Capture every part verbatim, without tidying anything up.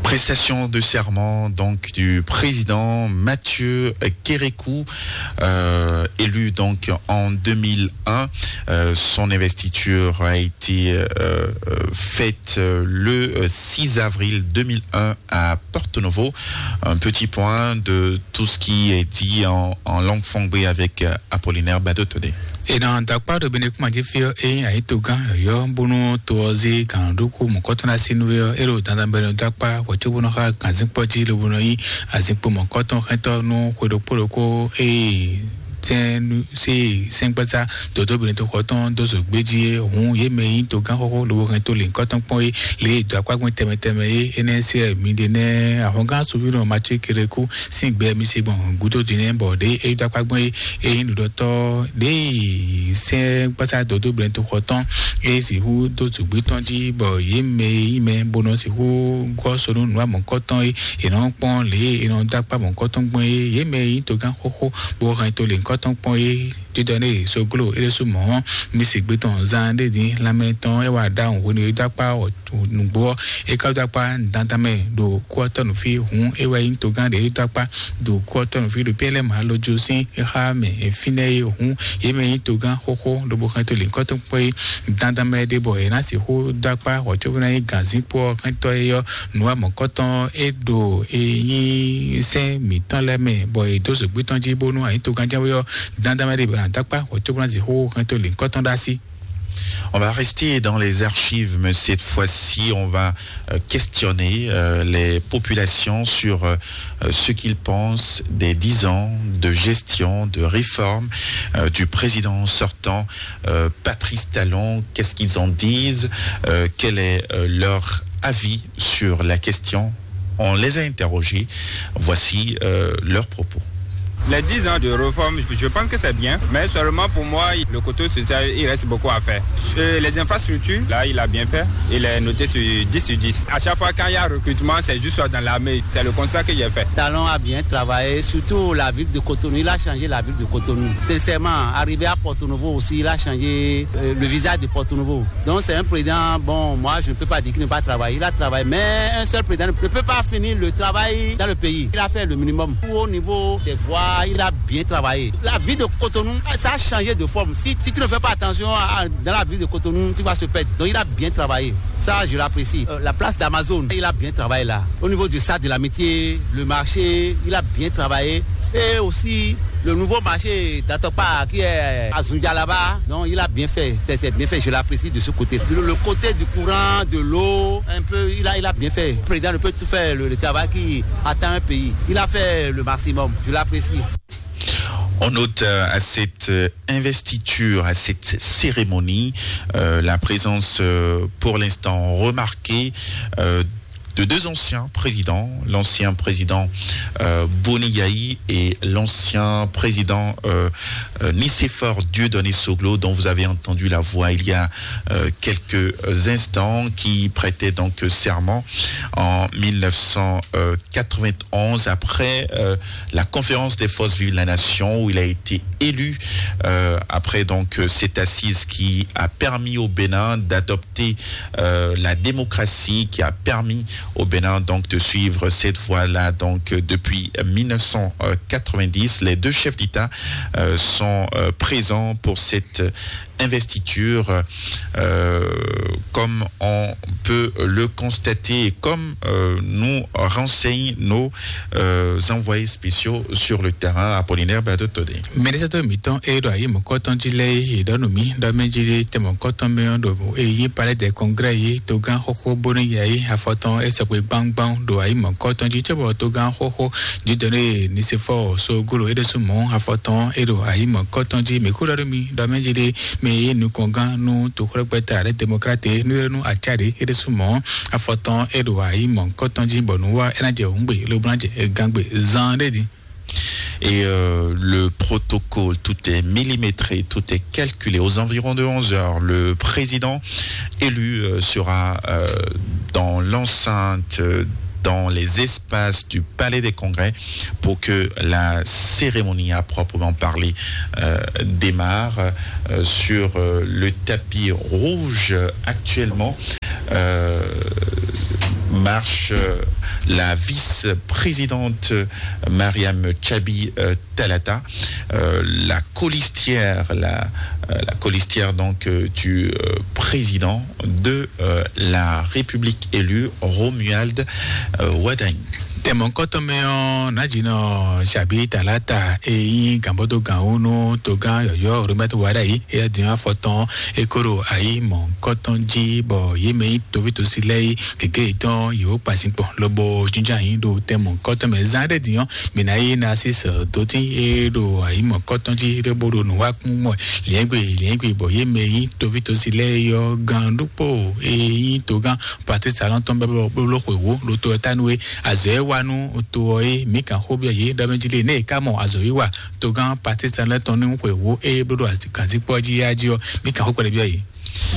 Prestation de serment donc du président Mathieu Kérékou, euh, élu donc en deux mille un. Euh, son investiture a été euh, euh, faite euh, le euh, six avril deux mille un à Porto Novo. Un petit point de tout ce qui est dit en, en langue fangbée avec euh, Apollinaire Badotone. Ena dakpa ɖo bene kuma dzi fi ɔ, eye ayi to gán yɔyɔ bónú to ɔ zé gǎn ɖokú mɔ̌kɔtɔn ná sí nú é ɔ, é ɖo dandan bɛ nɔ dakpa wɔ có bónú xa gǎnzínkpɔ́ jí lobo nɔ yí azínkpo mɔ̌kɔtɔn xɛntɔ́ nú xwe ɖokpó ɖokpó eye sɛn sí sɛngbɛ́sá dodó bene to xɔ tɔn dó zǒ gbé jí é. Hǔn yě mɛ e nyí togán xóxó lobo hɛn to lǐnkɔ́ tɔn kpɔ́n é, lě e dɔ̌ akpá gbɛn tɛnmɛ tɛnmɛ é. Énɛ́ sí ɛ mi ɖe nɛ́ ahɔngán Suvíɖɔ Matíu Kérékú sín gbɛ mi se gbɔn gúdo din nɛ́, bɔ ɖě é dɔ́ akpá gbɔn é, é nyí nǔɖɔtɔ́ ɖěe sɛ́n gbásá dodó blɛ́ntoxɔ tɔn é sixú dó zǔgbí tɔn jí, bɔ yě mɛ e nyí mɛ bó nɔ sixú gɔ́ so nú nǔ amɔ̌kɔ́tɔn é, è nɔ kpɔ́n lě e è nɔ dó akpá mɔ̌kɔ́tɔn gbɔn é. Yě mɛ e nyí togán xóxó bó hɛn to lě nyǐkɔ tɔn kpɔ́n é, dídɔ nɛ́ e soglo é ɖésú mɔ̌ ɔ́, mi se gbé tɔn zán ɖé din lanmɛ tɔn é wá ɖaxó hwenu e dó akpá nǔgbó ɔ́, é ka dó akpá dandan mɛ ɖo kú ɔ́ tɔ́ nǔ fí. Hǔn é wɛ nyí togán ɖě dó akpá ɖo kú ɔ́ tɔ́ nǔ fí ɖo Piyɛ́lɛ́ Malojo sín xá mɛ fínɛ́ é. Hǔn yě mɛ nyí togán xóxó lobo xɛn to lǐnkɔ́ tɔn kpɔ́ é dandan mɛ ɖé, bɔ è nǎ sixú dó akpá hɔ̌cóvú ná nyí gǎnzínkpo ɔ́ xɛntɔ́ é ɔ́, nǔ amɔ̌kɔ́tɔn é ɖo e nyí sɛ́n mǐtɔn lɛ́ɛ mɛ, bɔ è dó zǒgbí tɔn jí bónú anyǐtogán jɛ́n wé ɔ́, dandan mɛ ɖé bɔ è nǎ dó akpá hɔ̌cóvú ná sixú xɛn to lǐnkɔ́ tɔn ɖó así. On va rester dans les archives, mais cette fois-ci, on va euh, questionner euh, les populations sur euh, euh, ce qu'ils pensent des dix ans de gestion, de réforme euh, du président sortant, euh, Patrice Talon. Qu'est-ce qu'ils en disent ? Euh, quel est euh, leur avis sur la question ? On les a interrogés. Voici euh, leurs propos. Les dix ans de réforme, je pense que c'est bien, mais seulement pour moi, le côté social, il reste beaucoup à faire. Euh, les infrastructures, là, il a bien fait. Il est noté sur dix sur dix. À chaque fois, quand il y a recrutement, c'est juste dans l'armée. C'est le constat que j'ai fait. Talon a bien travaillé, surtout la ville de Cotonou. Il a changé la ville de Cotonou. Sincèrement, arrivé à Porto Novo aussi, il a changé euh, le visage de Porto Novo. Donc c'est un président, bon, moi je ne peux pas dire qu'il ne pas travailler. Il a travaillé, mais un seul président ne peut pas finir le travail dans le pays. Il a fait le minimum. Au niveau des voies, il a bien travaillé. La ville de Cotonou, ça a changé de forme. Si, si tu ne fais pas attention à, dans la ville de Cotonou, tu vas se perdre. Donc il a bien travaillé. Ça, je l'apprécie. Euh, la place d'Amazon, il a bien travaillé là. Au niveau du stade de l'amitié, le marché, il a bien travaillé. Et aussi, le nouveau marché d'Atokpa qui est à Zundia là-bas, donc il a bien fait. C'est bien fait, je l'apprécie de ce côté. Le, le côté du courant, de l'eau, un peu, il a, il a bien fait. Le président ne peut tout faire le, le travail qui attend un pays. Il a fait le maximum, je l'apprécie. On note euh, à cette euh, investiture, à cette cérémonie, euh, la présence euh, pour l'instant remarquée euh, de deux anciens présidents, l'ancien président euh, Boni Yayi et l'ancien président euh, euh, Nicéphore Dieudonné Soglo, dont vous avez entendu la voix il y a euh, quelques instants, qui prêtait donc serment en mille neuf cent quatre-vingt-onze après euh, la conférence des forces vives de la nation où il a été élu euh, après donc euh, cette assise qui a permis au Bénin d'adopter euh, la démocratie, qui a permis au Bénin donc de suivre cette voie-là. Donc euh, depuis mille neuf cent quatre-vingt-dix, les deux chefs d'État euh, sont euh, présents pour cette investiture, euh, comme on peut le constater et comme euh, nous renseignent nos euh, envoyés spéciaux sur le terrain, Apollinaire Badotodé. Mínísítà mǐtɔn e ɖo ayi mɔ̌kɔtɔn jí lɛ́ɛ yi ɖɔ nú mì ɖɔ mɛ jí ɖe tɛ mɔ̌kɔtɔn mɛ ɔ́ ɖo e yí Palais des Congrès yi togán xóxó bónú ya yi afɔtɔn e sɔgbe gbangban ɖo ayi mɔ̌kɔtɔn jí cóbɔ togán xóxó dídɔn ɖe Nisefɔ Sogolo e ɖésú mɔ̌ afɔtɔn e ɖo ayi mɔ̌kɔtɔn jí mǐ kú ɖɔ nú mì ɖɔ mɛ jí ɖe mɛ e nyí nukɔngán nú toxwlɛ́gbɛ́ta lɛ́ Demokrate nú é nú acá ɖě é ɖésú mɔ̌ afɔtɔn é ɖo ayi mɔ̌kɔtɔn jí bɔ nǔ wa é ná jɛ hǔngbe lobo ná jɛ gangbe zan ɖé din. Et euh, le protocole, tout est millimétré, tout est calculé. Aux environs de onze heures, le président élu euh, sera euh, dans l'enceinte, euh, dans les espaces du Palais des Congrès pour que la cérémonie à proprement parler euh, démarre euh, sur euh, le tapis rouge actuellement. Euh, marche, euh, la vice-présidente, euh, Mariam Chabi, euh, Talata, euh, la colistière, la, euh, la colistière donc, euh, du, euh, président de, euh, la République élue, Romuald, euh, Wadagni. Tɛmɔkɔtɔmɛ ɔ, najinɔ Chabi Talata, eyi gambɔdo ganwunu togan yɔyɔ Romuald Wadagni, eya din afɔtɔn ekoro ayi mɔkɔtɔn ji bɔ yemɛ yi tovitosi lɛ yi gege tɔn yewo kpasin kpɔn lobo jinjan yi ɖo tɛmɔkɔtɔmɛ zan ɖe din ɔ, mina yi na si sɛ doti e ɖo ayi mɔkɔtɔn ji ɖe bo ɖo nu wa kún mɔ liɛngbe liɛngbe bɔ yemɛ yi tovitosi lɛ yɔ gan ɖokpo eyi togan Patrice Talon tɔn bɛ blɔ blɔ xwe wo ɖo to ɛ ta nu e azɔ e wa nu to ɔ e mi kan xo biɔ ye ɖɔ mɛ ji le ne e ka mɔ azɔ yi wa togan Patrice Talon tɔn nu xwe wo e blɔ ɖo ganzikpɔ ji ya ji ɔ mi kan xo kpɛɖɛ biɔ ye.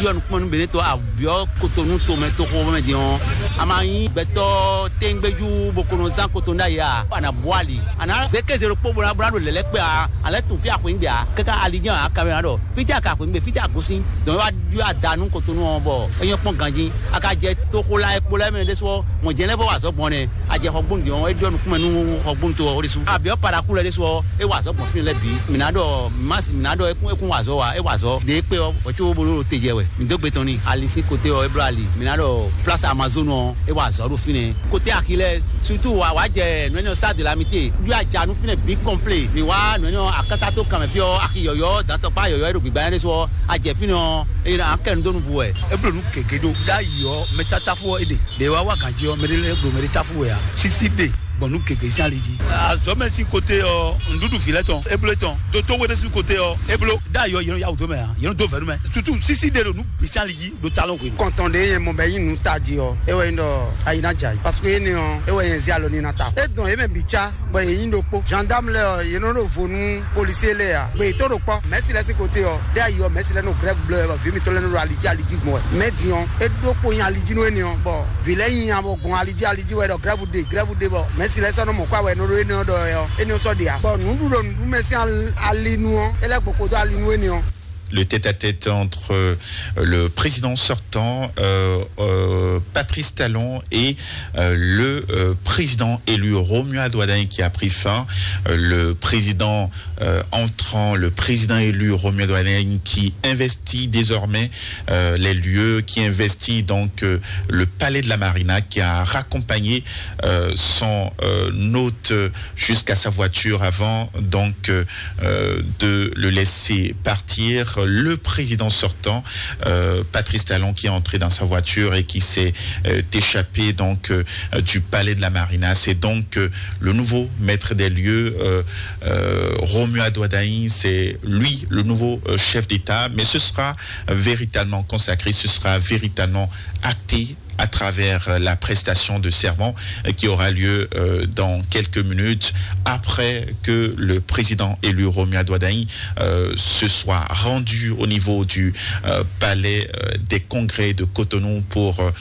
Yɔ nukpɔn nu bene to abiɔ kotonu to mɛ to xo mɛ din ɔ, a ma nyi gbɛtɔ tɛngbɛju bo kono zan kotonu ɖa ya a na bɔ ali a na zeke zero kpo bo na bo na ɖo lɛlɛ kpɛ a alɛ tun fi axwe ŋgbɛ a kaka ali jɛ a kamera ɖɔ fiti a ka axwe ŋgbɛ fiti a gosin dɔn wa yɔ ada nu kotonu ɔ bɔ e nyɔ kpɔn ganji a ka jɛ toxo la e kpo lɛ mɛ ɖe sɔ mɔ jɛ lɛ fɔ wa zɔ gbɔn nɛ a jɛ xɔgbɔn din ɔ e ɖɔ nukun mɛ nu xɔgbɔn to ɔ ɖesu abiɔ paraku lɛ ɖe sɔ e wa zɔ gbɔn fi lɛ bi mina ɖɔ masi mina ɖɔ ekun ekun wa zɔ wa e wa zɔ de kpe ɔ o tso bo ɖo te jɛ wɛ mi do gbe tɔn ni ali si kote ɔ e blo ali mina ɖɔ place amazon ɔ e wa zɔ ɖo fi nɛ kote axi lɛ surtout wa wa jɛ nɔnyɔ sa de la mi te yɔ ajanu fi nɛ bi kɔnple mi wa nɔnyɔ akasa to kan mɛ fi ɔ axi yɔyɔ dantɔkpa yɔyɔ e ɖo gbigba yɛn ɖe sɔ ajɛ fi nɛ ɔ e na kɛ nu do nu vu wɛ. Eblo nu gege ɖo ɖ'ayǐ ɔ mɛ tatafu ɔ e ɖe ɖe wa wa ganji ɔ mɛ ɖe lɛ ɖo mɛ ɖe tafu wɛ a sisi ɖe gbɔn nu gege sín ali jí. Azɔmɛ sín kote ɔ nɖuɖu vi lɛ tɔn eblo tɔn doto wɛrɛ sín kote ɔ eblo ɖ'ayǐ ɔ yɛn ya wò do mɛ a yɛn do vɛnu mɛ tutu sisi ɖe ɖo nu gbe sín ali jí ɖo talon hwenu. Kɔntɔn ɖe yẹn mɔ bɛ yin nu taji ɔ e wɛ yin ɖɔ ayi na jai parce que ene ɔ e wɛ yẹn zi alɔ ni na ta e dɔn ye mɛ bi ca bɔ yě nyí ɖokpó. Gendarme lɛ́ɛ ɔ́, yě nɔ ɖo vo nú policier lɛ́ɛ ǎ. Gbè yětɔn ɖo kpɔ́, mɛ̌si lɛ́ɛ sín kote ɔ́, ɖé ayi ɔ́, mɛ̌si lɛ́ɛ nɔ grève blɔ́ wɛ, bɔ vǐ mitɔn lɛ́ɛ nɔ ɖo ali jí ali jí gbɔn wɛ. Mɛ̌ din ɔ́, é ɖó kpo nyi ali jí nú énɛ́ ɔ́, bɔ vǐ lɛ́ɛ nyi nya bɔ gbɔn ali jí ali jí wɛ ɖɔ grève ɖe, grève ɖe, bɔ mɛ̌si lɛ́ɛ sɔ́ nɔ mɔ kwá wɛ nɔ ɖó énɛ́ ɔ́ ɖɔ wɛ ɔ́, énɛ́ ɔ́ sɔ́ ɖe ǎ. Bɔ nǔɖuɖu ɖo nǔɖuɖu mɛ sín al-, ali nu ɔ́, é lɛ́ gboko dó ali nú énɛ́ ɔ́. Le tête-à-tête entre, euh, le président sortant, euh, euh, Patrice Talon, et, euh, le, euh, président élu Romuald Wadagni qui a pris fin. Euh, le président, euh, entrant, le président élu Romuald Wadagni qui investit désormais, euh, les lieux, qui investit donc, euh, le palais de la Marina, qui a raccompagné, euh, son, euh, hôte, euh, jusqu'à sa voiture avant donc, euh, euh, de le laisser partir. Le président sortant, euh, Patrice Talon, qui est entré dans sa voiture et qui s'est, euh, échappé donc, euh, du palais de la Marina. C'est donc, euh, le nouveau maître des lieux, euh, euh, Romuald Wadagni. C'est lui le nouveau, euh, chef d'État. Mais ce sera véritablement consacré, ce sera véritablement acté à travers, euh, la prestation de serment, euh, qui aura lieu, euh, dans quelques minutes après que le président élu Romuald Wadagni, euh, se soit rendu au niveau du, euh, palais, euh, des congrès de Cotonou pour, euh,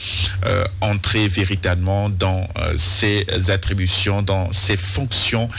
euh, entrer véritablement dans, euh, ses attributions, dans ses fonctions,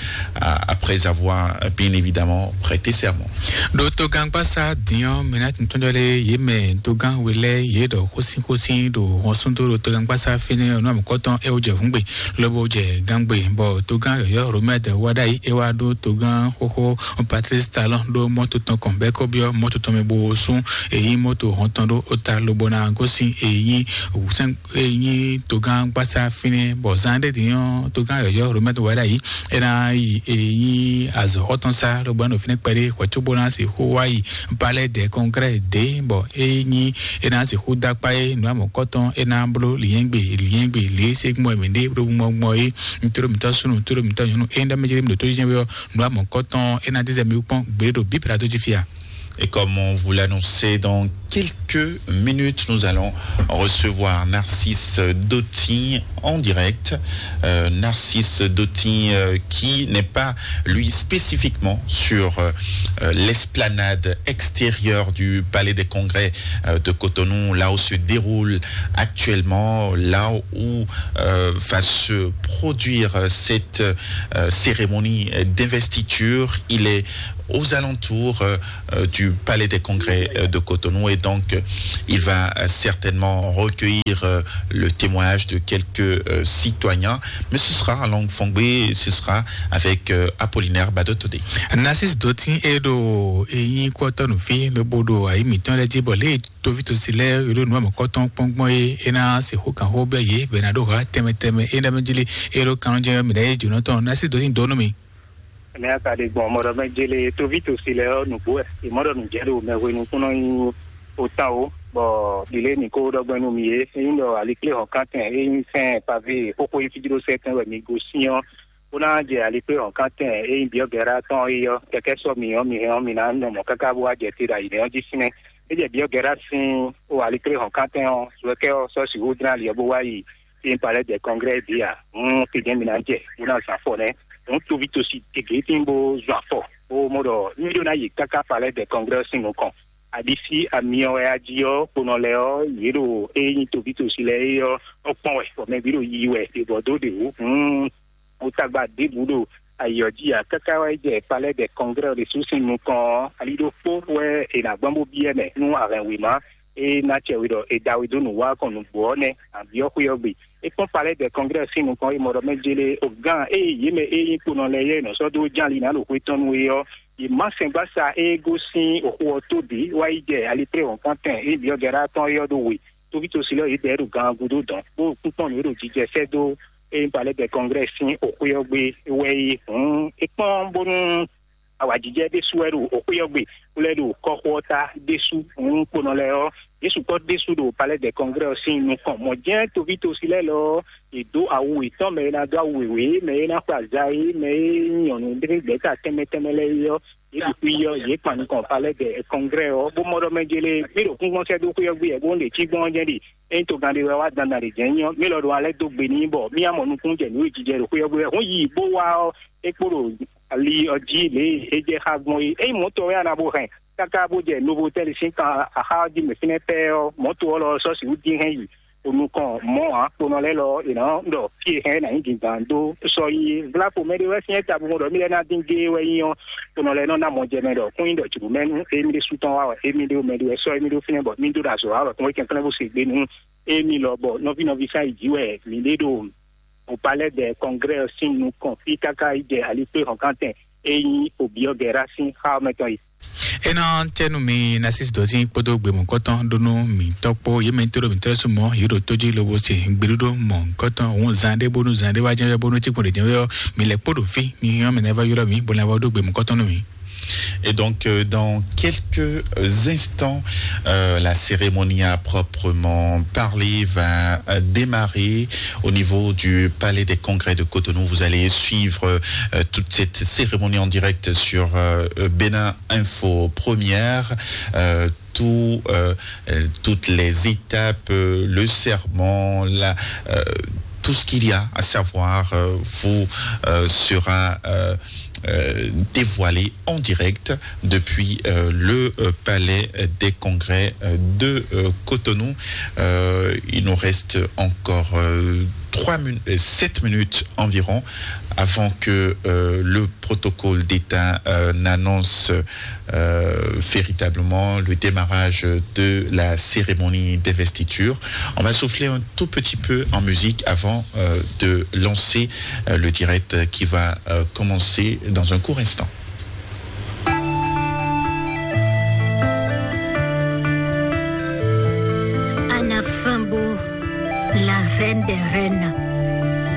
euh, après avoir, euh, bien évidemment prêté serment. Ɖo togangba sa din ɔ́, mɛ ná tún tɔn ɖɔ lé yě mɛ togán we lɛ́ɛ yě ɖɔ xósínxósín ɖo hɔnsúndó ɖo togangba sa fínɛ́ ɔ́ nú amɔ̌kɔ́tɔn é wó jɛ hǔngbe lobo jɛ gángbe, bɔ togán yɔ̌yɔ́ Romɛ́d wá ɖ'ayǐ é wá ɖó togán xóxó Patrice Talon ɖó mɔ́to tɔn kɔn bɔ é kó byɔ́ mɔ́to tɔn mɛ bó sú èyí mɔ́to hɔn tɔn ɖó ó ta lobo ná gosín èyí sɛ́n èyí togán gbásá fínɛ́ bɔ zán ɖé din ɔ́ togán yɔ̌yɔ́ Romɛ́d wá ɖ'ayǐ é ná yi èyí azɔ̌xɔ́tɔn sá lobo ná ɖo fínɛ́ kpɛɖé hwɛ̌ cóbó ná sixú wá yi Palais des Congrès dě bɔ é nyí é ná sixú dó akpá é nǔ amɔ̌kɔ́tɔn é ná bló lyɛ̌ngbe lyɛ̌ngbe lě e ségún wɛ mǐ ɖe ɖó gbɔngbɔn é. Ntúɖó mǐtɔn súnnu ntúɖó mǐtɔn nyɔ̌nu é ŋɖɔ́ mɛ jlé mì ɖo tó jínjɛ́n wé ɔ́ nǔ amɔ̌kɔ́tɔn é ná dízɛ mi wú kpɔ́n gbě ɖo bǐ plateau jí fí a? Et comme on vous l'annonçait, dans quelques minutes, nous allons recevoir Narcisse Dotin en direct. Euh, Narcisse Dotin, euh, qui n'est pas, lui, spécifiquement sur, euh, euh, l'esplanade extérieure du Palais des Congrès, euh, de Cotonou, là où se déroule actuellement, là où, euh, va se produire, euh, cette, euh, cérémonie, euh, d'investiture. Il est aux alentours euh, euh, du palais des congrès euh, de Cotonou et donc euh, il va euh, certainement recueillir euh, le témoignage de quelques euh, citoyens, mais ce sera en langue fongbée et ce sera avec euh, Apollinaire Badotodé. Narcisse Dotin e ɖo eyin kɔtɔnu fi lobo ɖo ayi mitɔn lɛ dzi bɔ lé tovitosí lɛ e ɖo nǔ amɔkɔtɔn kpɔ́ngbɔn e é ná sixú kan xó bɛ yě bɛ ná ɖó ha tɛmɛ tɛmɛ e ná mɛ jili e ɖo kanjɛ mɛ ɖe jǒnɔ tɔn Narcisse Dotin dó nú mi. Mɛ aka ɖe gbɔn mɔɖɔ mɛ jele tovitosí lɛ ɔ́ nǔgbó wɛ. Ìmɔɖɔ nǔjɛ ɖo mɛ hwenu kúnɔ nyi otan o bɔ ɖile ní kó ɖɔgbɛn nú mi é. Ényí ɖɔ alikplé hɔn kántɛn ényí fɛn pavé xóxó yi fíjló sɛtɛn wɛ mi gosín ɔ́ bó ná jɛ alikplé hɔn kántɛn ényí biɔ́ gɛ̌rá tɔn é ɔ́ kɛkɛ́ sɔ́ mi ɔ́ mi hɛn ɔ́ mi ná nɔ mɔ̌ káká bó wá jɛ te ɖo ayǐ nɛ́ ɔ́ jí sín. É jɛ biɔ́ gɛ̌rá sín o alikplé hɔn kántɛn ɔ́ suɛkɛ́ ɔ́ sɔ́ sixú dlán ali ɔ́ bó wá yi. Fi palais des congrès bia hɔn fi jɛn mi ná jɛ bó ná zan afɔ nɛ hɔn tovi tosi gege tí bó zun afɔ bó mɔ ɖɔ mi ɖó ná yi káká palais des congrès sín nukɔn. Aɖisí amiɔ wɛ ají ɔ́ kponɔ lɛ ɔ́ yě ɖo é nyí tovi tosi lɛ é ɔ́ ɔkpɔn wɛ bɔ mɛ bǐ ɖo yi wɛ ɖe bɔ dó ɖe wǔ hɔn. Wotagba ɖěbǔ ɖo ayǐ ɔ́ jí ǎ káká wá yi jɛ palais des congrès ɖésú sín nukɔn ɔ́, ali ɖokpó wɛ è nǎ gbɔn bó byɔ́ mɛ nú ahɛn wěma e ná cɛ we ɖɔ è da we dó nǔ wa kɔn nǔgbó ɔ́ nɛ́. Àbí ɔ́ xwé ɔ́ gbe. É kpɔ́n palais des congrès sín nukɔn é mɔ ɖɔ mɛ jélé ogán ée yě mɛ e nyí kponɔ lɛ́ɛ yɛ nɔ sɔ́ dó ján ali ná ɖo xwé tɔn nú é ɔ́, yě má sɛngbása e gosín oxu ɔ́ tó bǐ wá yi jɛ alipré wɔ̌nkɔ́ntɛn e byɔ́ Gɛ̌rá tɔn é ɔ́ ɖó we. Tovítɔ́sí lɛ́ɛ yě bɛ́ ɖo gan gúdo dɔn, bó kúnkpɔ́n nǔ e ɖo jijɛ sɛ́ dó e nyí palais des congrès sín oxwé ɔ́ gbe wɛ é. Hǔn é kpɔ́n bónú awǎjijɛ ɖésú wɛ ɖo oxwé ɔ́ gbe, bó lɛ́ ɖo kɔ́xo ɔ́ ta ɖésú. Hǔn kponɔ lɛ́ɛ ɔ́, yě sukpɔ́ ɖésú ɖo palais des congrès ɔ́ sín nukɔn. Mɔ̌ jɛ́n tovítɔ́sí lɛ́ɛ lɔ ɔ́, yě dó awu yětɔn mɛ e ná dó awu wěwé, mɛ e ná xwe aza é, mɛ e nyí nyɔ̌nu ɖé gbɛ̌ta tɛnmɛ tɛnmɛ lɛ́ɛ é ɔ́, yě ɖi xwí ɔ́, yě kpan nukɔn palais des congrès ɔ́, bó mɔ ɖɔ mɛ jélé mí ɖo kúngbɔ́n sɛ́ dó xwé ɔ́ gbe wɛ, bó ɖe cí gbɔn ɔ́ jɛ́n ɖi. Ényí togán ɖé wɛ wá dandan ɖě jɛ́n nyí ɔ́, mí lɔ ɖo alɛ́ dó gbe n'i bɔ mí ná mɔ nukúnnú jɛ nǔ e jijɛ ɖo xwé ɔ́ gbe wɛ. Hǔn yi bó wá ɔ́, é kpo ɖo ali ɔ́ jí lě e é jɛ xá gbɔn é. Ényí mɔ̌ tɔn wɛ a nǎ bo hɛn káká bó jɛ Novotel sín kan axá ɔ́ jí mɛ fínɛ́ pɛ́ ɔ́, mɔ̌ to ɔ́ lɔ ɔ́ sɔ́ sixú dín hɛn yi. O nukɔn mɔ̌ ǎ, kponɔ lɛ́ɛ lɔ è nǎ ɖɔ fí e hɛn é nǎ nyí dǐndán dó sɔ́ yi é. Vlako mɛɖé wɛ syɛ́n ta bo mɔ ɖɔ mí lɛ́ ná dín géé wɛ nyí ɔ́, kponɔ lɛ́ɛ nɔ ná mɔ jɛ mɛ ɖɔ kún nyí ɖɔ jǐnúmɛnú émí ɖésú tɔn wá wɛ, émí ɖé mɛ ɖé wɛ sɔ́ émí ɖó fínɛ́ bɔ mí dó ɖo azɔ̌ wá wɛ kún é kɛnklɛ́n bó se gbe nú émí lɔ bɔ nɔví nɔví sán yi jǐ wɛ mǐ ɖé ɖo o palais des congrès ɔ́ sín nukɔn fí káká yi jɛ alikpé hɔnkántɛn e nyí obyɔ́ Gɛ̌rá sín xá ɔ́ mɛ tɔn yi. Ena cɛnu mi Narcisse Dɔzin kpódó gbemɔkɔtɔn ɖó nú mi tɔkpó yě mɛ tó ɖo mi tɔ́ sumɔ yě ɖo tó jí lobo se gbeɖuɖo mɔ kɔtɔn òun zan ɖé bónú zan ɖé wá jɛn bónú tí kpɔn ɖe jɛn ɔ́ mi lɛ kpó ɖo fí mi yɔn mɛ nɛ va ylɔ mi bó lɛ va ɖó gbemɔkɔtɔn nú mi. Et donc, euh, dans quelques instants, euh, la cérémonie à proprement parler va euh, démarrer au niveau du Palais des Congrès de Cotonou. Vous allez suivre euh, toute cette cérémonie en direct sur euh, Bénin Info Première. Euh, tout, euh, euh, toutes les étapes, euh, le serment, la, euh, tout ce qu'il y a à savoir euh, vous euh, sera euh, euh, dévoilé en direct depuis euh, le euh, palais des congrès euh, de euh, Cotonou. Euh, il nous reste encore euh, trois min- euh, sept minutes environ avant que euh, le protocole d'État euh, n'annonce euh, véritablement le démarrage de la cérémonie d'investiture. On va souffler un tout petit peu en musique avant euh, de lancer euh, le direct qui va euh, commencer dans un court instant. Anna Fimbo, la reine des reines.